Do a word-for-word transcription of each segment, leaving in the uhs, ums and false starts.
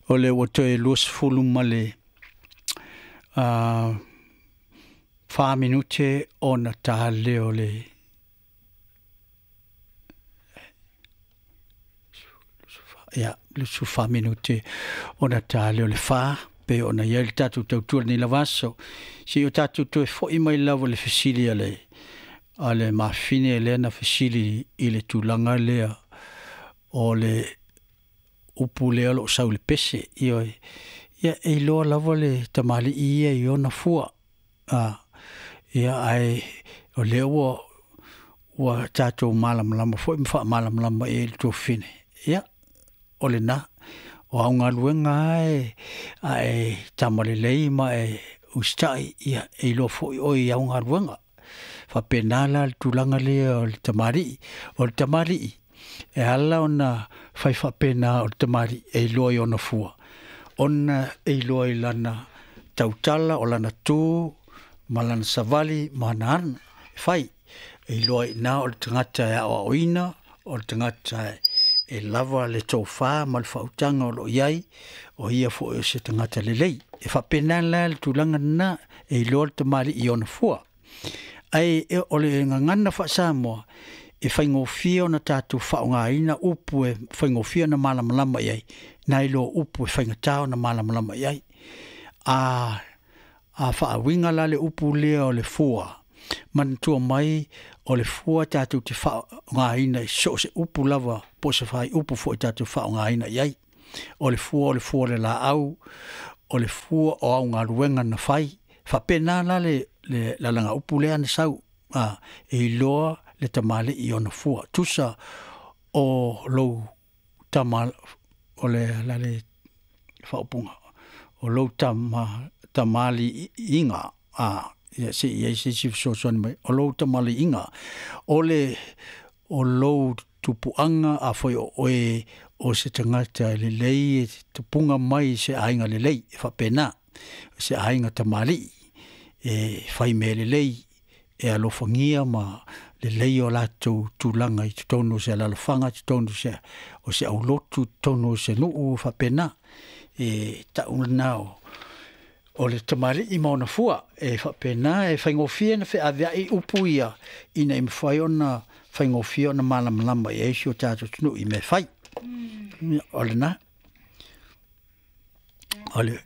O le ua toe luasefulu ma le uh, fa minute ona ta lea o le ia lusu fa minute ona ta lea o le fa pe ona ia le tatou tautua lenei lava aso. Se i o tatou toe fo'i mai lava le fesili a le a le mafine lea na fesili i le tulaga lea o le upu lea o loo sau le pese. Ioe, ia e iloa lava le tamalii ia i ona fua. A ia ae o lea ua ua tatou malamalama foi ma faamalamalama i ai le tuafafine. Ia o lena o au galuega lava ae tamalelei ma e usitai, ia e iloa foi oe i au galuega. Faapena la le tulaga lea o le tamalii. O le tamalii e ala ona fai faapena o le tamalii e iloa i ona fua, ona e iloa i lana tautala, o lana tu ma lana savali ma ana ana e fai. E iloa i ina o le tagata e aoaoina, o le tagata e lava le tofa ma le faautaga o loo i ai, o ia foi o se tagata lelei. E faapena la le tulaga lena, e iloa le tamalii i ona fua. Ae o le gagana faa-Samoa e faigofie ona tatou faaaogaina upu e faigofie ona malamalama i ai, nai lo upu e faigata ona malamalama i ai. A a faauiga la le upu lea o le fua, manatua mai o le fua tatou te faaaogaina i so o se upu lava po o se faaiupu foi tatou faaaogaina i ai. O le fua, o le fua o le laau, o le fua o au galuega na fai. Faapena la le le lalagaupu lea na sau, a e iloa le tamalii i ona fua. Tusa o lou tama o le la le faaupuga o lou tama tamaliiga a ia se i ai se isi fesoasoani mai o lou tamaliiga o le o lou tupuaga afai o oe o se tagata e lelei e tupuga mai i se aiga lelei. E faapena se aiga tamalii e fai mea lelei, e alofagia ma lelei o latou tulaga i totonu o se alalafaga, totonu o se o se aulotu, totonu o se nuu. Faapena e tau lena o o le tamalii ma ona fua. E faapena e faigofie na feaveai upu ia ina ia mafai ona faigofie ona malamalama i ai si o tatou atunuu i mea fai. O lena o le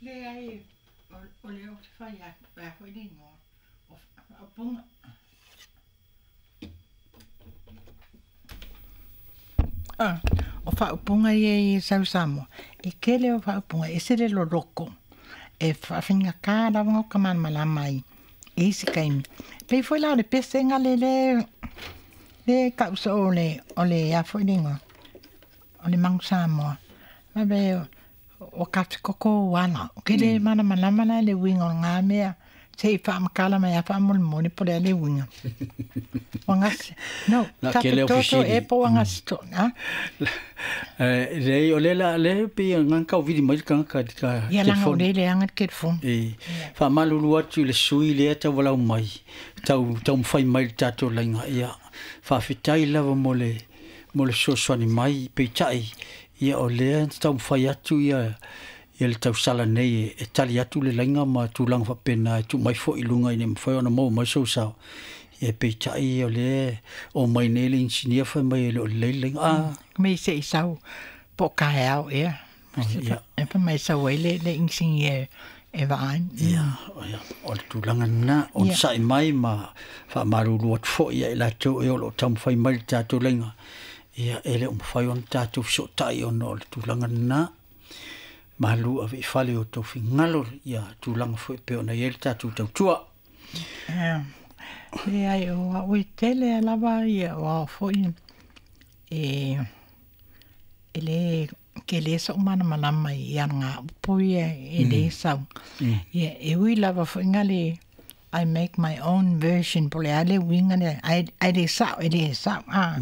Leai, o lea ou te fai atu, o le a foi le igoa o faaupuga. Ah, o faaupuga ia i sau Samoa, e tele o faaupuga, e ese le loloko, e faafaigata lava ona ka malamalama ai i isi taimi. Pei foi la o le pesega le le le tau soo o le o le a foi le igoa, o le Manu Samoa. Vave o ka koko ala. O ke le malamalama la le uiga o lena mea, se i faamatala mai a faamolemole po o le a le uiga. Ua gase, no, Na kele o tafetoto fesili. e po ua gase to, a? Leai, o lea la lea pei e gagau vili mai le tagata i le Ia laga o telefoni. lea e leaga le telefoni. E faamalulu atu i le sui lea taualau mai tau taumafai mai le tatou laiga. Ia faafetai lava mo le mo le fesoasoani mai, peitai ia o lea na taumafai atu ia ia le tausala nei e tali atu le laiga ma tulaga faapena e tuu mai foi i luga ina ia mafai ona maua mai sou sao. Ia peitai o lea o mai nei le inisinia fai mai e le o lelei le laiga. A Me se i sau po o taeao ea. Ia. E fai mai sau ai le le inisinia e vaai. Ia, ia, o le tulaga lena, onosai mai ma faamalulu atu foi ia i latou e o loo taumafai mai le tatou laiga. Ia e le o mafai ona tatou fesootai ona o le tulaga lena. Malu ave i fale o tou finagalo ia tulaga foi e pei ona i ai le tatou tautua. Leai, o au e tele lava ia o ao foi e e le tele so'u malamalama i alagaupu ia e lē sau. Ia e ui lava fo'iga le I make my own version po o le a le uiga lea ae ae lē sa'o e lē sa'o a.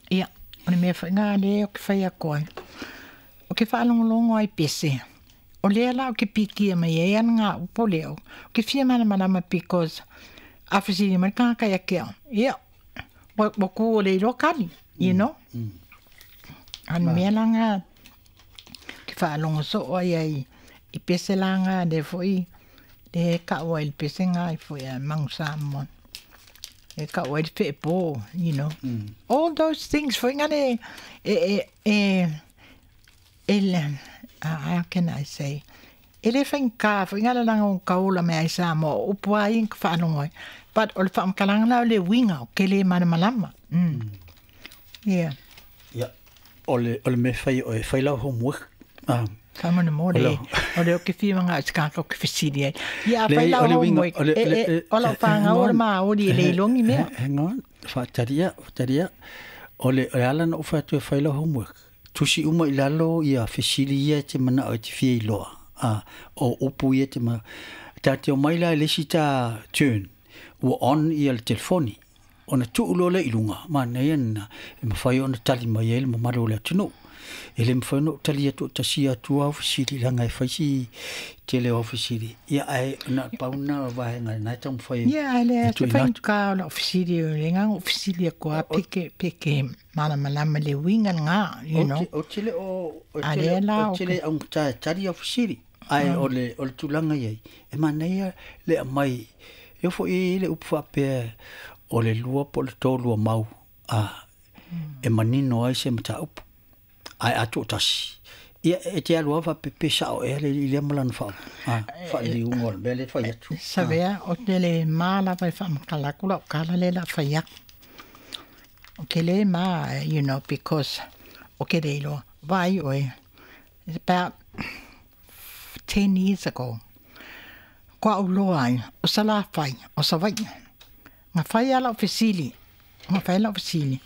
Ia o le mea fo'iga lea ou te fai atu ai, ou te faalogologo ai pese, o lea la ou te pikia mai ai alagaupu lea ou te fia malamalama because a fesili mai le tagata ia te au, ia ua ua tu ua le iloa tali, you know. A mea laga ke faalogo soo ai ai i pese laga le foi le ka'u ai le pesega ai foi a Magu Samoa e ka'u ai le feepo, you know. All those things foi ngale e e e e how can I say, e le faigā foi ngale laga o kaola mea ai Samoa o upu ai ka faalogo ai. But o le faamatalaga la o le uiga o ke le malamalama. Mm. Yeah. Ia, o le o le mea fai o e fai lau homework. Ah. Faamolemole o le o ke fia maga se kaka o ke fesili ai. Ia a fai lau homework e e o lau fagau o le maoli e le ilogi mea. Hang on, faatalia, faatalia. O le o le ala na ou fai atu e fai lau homework. Tusi uma i lalo ia fesili ia e te manao e te fia iloa. Ah, o upu ia te ma ta te o mai la le isi ta turn ua on ia le telefoni. Ona tuu loa lea i luga, manaia lena, e mafai ona tali mai ai le mamalu o le atunuu. E le mafai ona ou tali atu o tasia atu au fesili leaga e fai si tele o au fesili. Ia ae na o le pau lena o vaega lena e taumafai Ia, ae le e se tuuina atu. faigā o lau fesili o le agaga ou fesili atu a peke peke malamalama le uiga lagā, you Ou know. te, ou te le o, ou A te le, lea la ou o te ke le augata e tali au fesili. Ae o le, o le tulaga i ai, e manaia le aumai, e oo foi i ai le upu faapea o le lua po o le tolu o mau a e manino ai se mataupu. Ae a toatasi, ia e te alu lava faapea pe sao ea le alii lea ma lana faa, a, faaliliuga o le mea lea e fai atu. A. Savea o te le ma lava e faamatala atu lau tala lea o le a fai atu. O ke le ma, you know, because o ke le iloa, vaai oe, it's about ten years ago, kua ou loa ai, o Salafai, o Savaii. Na fai lava lau fesili, na fai lau fesili,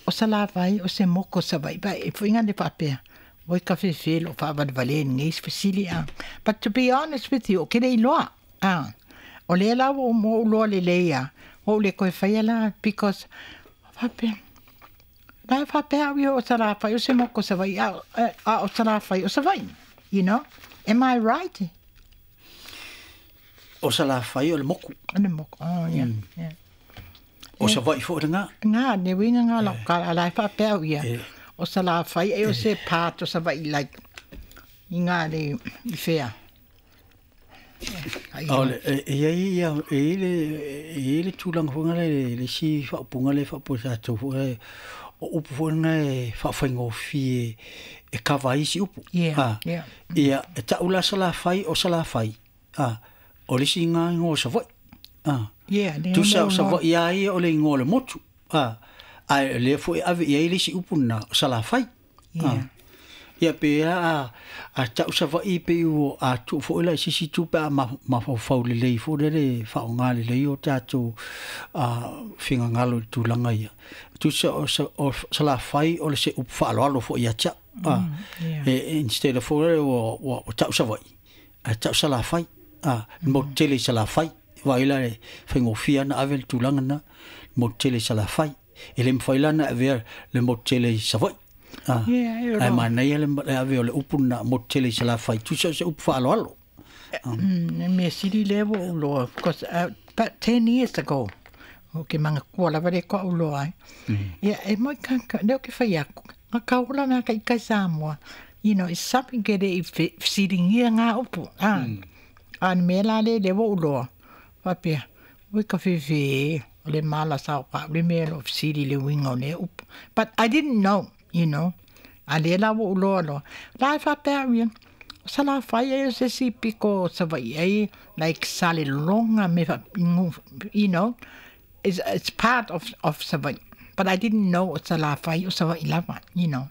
o Salafai o se moku o Savaii, vaai e fuiga le faapea, oi ka fefe loo faavalevale lenei fesili a. But to be honest with you, o ke le iloa, a. O lea la ua ou loa lelei a, ua ou le koe faia la, because faapea, la e faapea au ia o Salafai o se moku o Savaii, a, a o Salafai o Savaii, you know? Am I right? O Salafai o le moku. O le moku, oh yeah, yeah. O Savaii foi lagā. Ngā, ne uiga ngā lau kala, la e faapea au ia. E. O Salafai e o se part o Savaii like, i ngā le i whea. Ai O le, e e i ai ia, e i le, e i le tulaga foi lea le, le isi faaupuga lea e faapea tatou foi lea, o upu foi lena e faafaigofie e kava ai isi upu. Yeah, A, yeah. ia, e tau la Salafai o Salafai. A, o le isi ngā igoa o Savaii. A, Yeah, le tusa o mo Savaii a ia o le igoa o le motu. A, ae o lea foi e ave i ai le isi upu lena o Salafai. A, Yeah. ia pe a, a tau Savaii pe ua a tuu foi la i se isi itu pe a mafaufau lelei foi lele faaaoga lelei o tatou a, finagalo i le tulaga ia. Tusa o, sa, o Salafai o le se upu faaaloalo foi ia te au. A, yeah. e, instead of foi lele ua, ua, ua tau Savaii, ae tau Salafai. A, le motu tele i Salafai. Vaai la e faigofie ona ave le tulaga lena, le motu tele i Salafai. E le mafai la ona avea le motu tele i Savaii. A, Yeah, e o ae lo. manaia le, le ave o le upu lena motu tele i Salafai. Tusa o se upu faaaloalo. Mm, e mea sili lea ua ou loa, because uh, about ten years ago, o ke manatua lava le koa ou loa ai. Ia, e moi ka, ka, leo ke whai aku, ngā kaola mea ka i kai Samoa, you know, it's something ke le i fesilingia ngā upu. Ah, a ni mea la le le ua ou loa. Whapea, ui ka whiwhi, o le mala sao ka, le mea lo fesili le uiga o le upu. But I didn't know, you know. A le la ua ou loa loa. La e whapea au ia, o Salafai e o se si piko o Savaii ai, like Salelologa me wha, you know, it's, it's part of, of Savaii. But I didn't know o Salafai o Savaii lava, you know.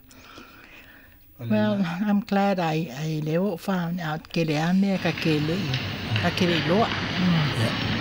Well, I'm glad I, I le o found out ke le a mea ka ke le i, ka ke le iloa. Mm. Yeah.